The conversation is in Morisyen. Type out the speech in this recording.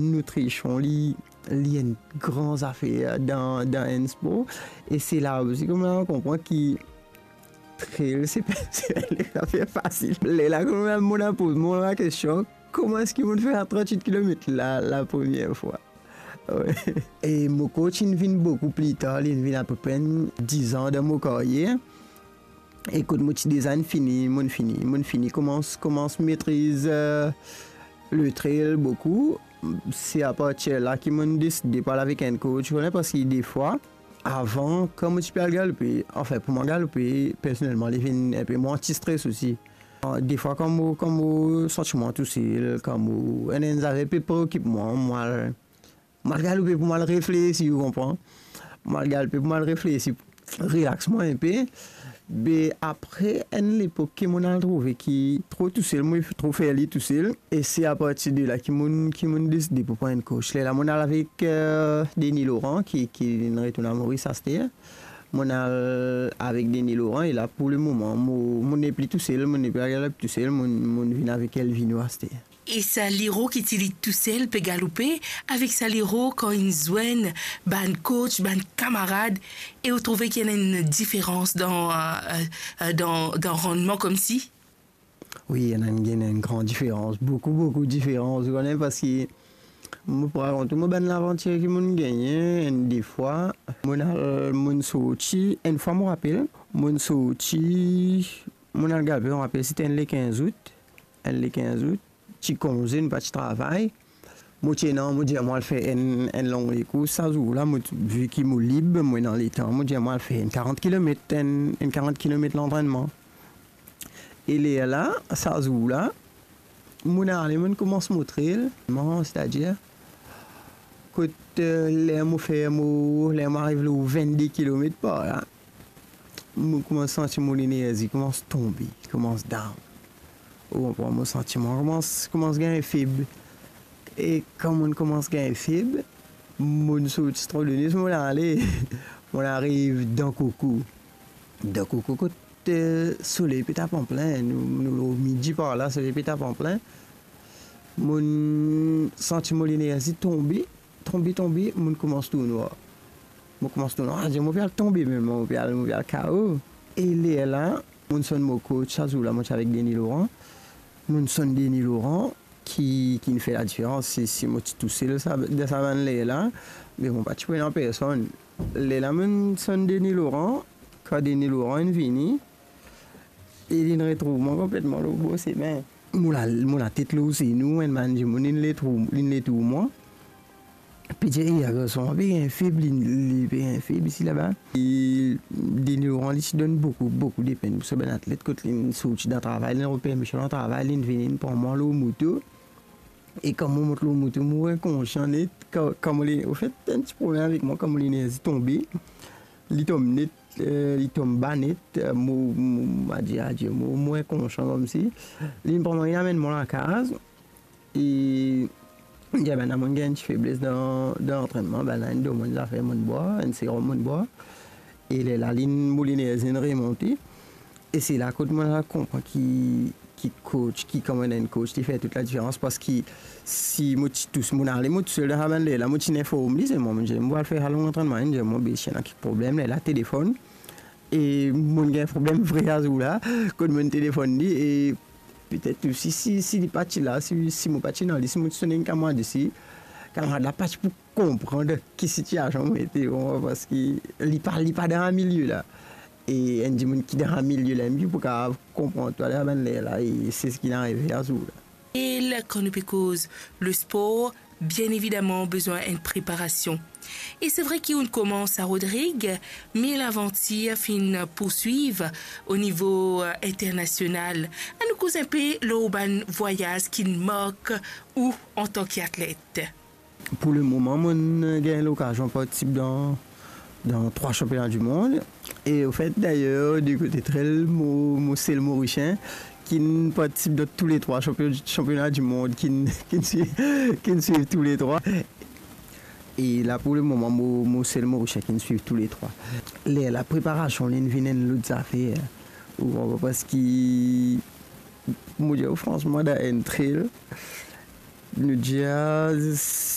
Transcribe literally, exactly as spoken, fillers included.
Nitrision, li, li enn gran zafer dan, dan enn spor. E se la osi kouma mo konpran ki trail, se pa, se pa enn zafer fasil. Lerla kouma mo inn poz mwa lakestion, kouma eski mo fer trant-wit kilomet la, la premie fwa? Wi. E mo coach inn vinn boukou pli tar, li inn vinn apepre dizan dan mo karyer. E kot mo ti deza inn fini, mo inn fini, mo inn fini koumans, koumans metriz, eh, le trail boukou. Se apartir la ki mo inn deside pou al avek enn coach, ou kone, parski defwa, avan, kan mo ti pe al galoupe, anfin, pou mwa galoupe, personelman, li vinn enpe mo anti-stres osi. Ah, defwa, kan mo, kan mo santi mwa tousel, kan mo, enn, enn zafer pe preokip mwa, mo al, mo al galoupe pou mo al reflesi, ou konpran? Mo al galoupe pou mo al reflesi, relax mwa enpe. Be apre enn lepok ki mo inn al trouve ki tro tousel, mo tro fer li tousel. E se apartir de la ki mo inn, ki mo inn deside pou pran enn coach. Lerla mo inn al avek, eh, Denis Laurent, ki, ki inn retourn a Moris aster. Mo inn al avek Denis Laurent, e la, pou lemoman, mo, mo nepli tousel, mo nepli al galoup tousel, mo, mo vinn avek Elvino aster. E sa liro ki ti li tousel pe galoupe, avek sa liro kan inn zwenn bann coach, bann kamarad, e ou trouve ki ena enn diferans dan, eh, eh, dan, dan rannman koumsi? Wi, ena enn, ena enn gran diferans, boukou, boukou diferans, ou kone, parski mo pou rakont ou mo bann lavantir ki mo inn gagne, enn de fwa, mo inn al, mo inn sorti, enn fwa mo rapel, mo inn sorti, mo inn al galoupe, mo rapel, se ti enn le kinz out, enn le kinz out, ti konze, nou pa ti travay. Mo ti ena, mo dir mo al fer enn, enn long lekours sa zour la, mo ti, vi ki mo lib, mo ena letan, mo dir mo al fer enn karant kilomet, enn, enn karant kilomet lantrennman. E lerla, sa zour la, mo inn ale, mo inn koumans mo trail, mo, setadir, kot, eh, ler mo fer mo, ler mo ariv lor vennde kilomet par la, mo koumans santi mo lenerzi koumans tonbe, koumans down. Ou konpran, mo santi mwa koumans, koumans gagn feb. E kan mo koumans gagn feb, mo sorti Stradone, mo ale, mo ariv Dan Koko. Dan Koko kot, eh, soley pe tap anplin, nou, nou lor midi par la, soley pe tap anplin. Mo santi mo lenerzi tonbe, tonbe, tonbe, mo koumans tournwar. Mo koumans tournwar, ah, mo pe al tonbe mem, mo pe al, mo pe al K O. E lerla, mo sonn mo coach, sa zour la mo ti avek Denis Laurent. Mo sonn Denis Laurent, ki, ki fer ladiferans, si, si mo ti tousel sa, dan sa bann ler la, me mo pa ti pou ena personn. Lerla mo sonn Denis Laurent, kan Denis Laurent inn vini, e linn retrouv mwa konpletman lor bor sime. Mo la, mo latet lor zenou, enn bann dimoun linn retrouv, linn retrouv mwa. Pe dir, "Eh, garson, pe gagn feb, li, li pe gagn feb isi laba." E Denis Laurent, li ti donn boukou, boukou depenn pou sa bann atlet, kot linn sorti dan travay, linn rod permision dan travay, linn vini, linn pran mwa lor moto. E kan mo mont lor moto, mo inkonsian net, kan, kan mo le-, anfet, enn ti problem avek mwa, kan mo lenerzi tonbe, li tom net, eh, li tom ba net, eh, mo, mo, mo adir, adir, mo, mo inkonsian koumsi. Linn pran mwa, linn amenn mwa lakaz. E, dir bann la, mo gagn ti febles dan, dan lantrennman, bann la inn donn mwa enn zafer mo bwar, enn serom mo bwar. E lerla, linn, mo lenerzi inn remonte. E se la kot mo la konpran ki, ki coach, ki kouma enn coach, li fer tou ladiferans, parski si mo ti tous, mo ale, mo tousel dan sa bann ler la, mo ti inform li, se mwa, mo dir, mo al fer sa long lantrennman, li dir mwa, be, si ena kek problem, lerla telefonn. E mo gagn problem vre sa zour la, kot mo telefonn li, e petet osi, si, si li pa ti la, si, si mo pa ti ena li, si mo ti sonn enn kamarad isi, kamarad la pa ti pou konpran dan ki sitiasion mo ete, ou konpran, parski li pa, li pa dan sa milie la. E enn dimoun ki dan sa milie la, li pou kapav konpran twa dan sa bann ler la, e se seki inn arive sa zour la. E la, kan nou pe koz lespor, bien evidaman, bizin enn preparasion. E se vre ki ou'nn koumans a Rodrig, me lavantir finn pourswiv o nivo, eh, internasional. Annou koz enpe lor bann vwayaz ki'nn mark ou antan ki atlet. Pou lemoman, mo'nn gagn lokazion partisip dan, dan trwa sanpiona dimond. E anfet, dayer, di kote trail, mo, mo sel Morisien ki'nn partisip dan tou le trwa sanpion-, sanpiona dimond, ki'nn, ki'nn swiv, ki'nn swiv tou le trwa. E la, pou lemoman, mo, mo sel Morisien ki'nn swiv tou le trwa. Lerla preparasion, linn vinn enn lot zafer. Ou konpran, parski, mo dir ou fransman, dan enn trail, nou dir,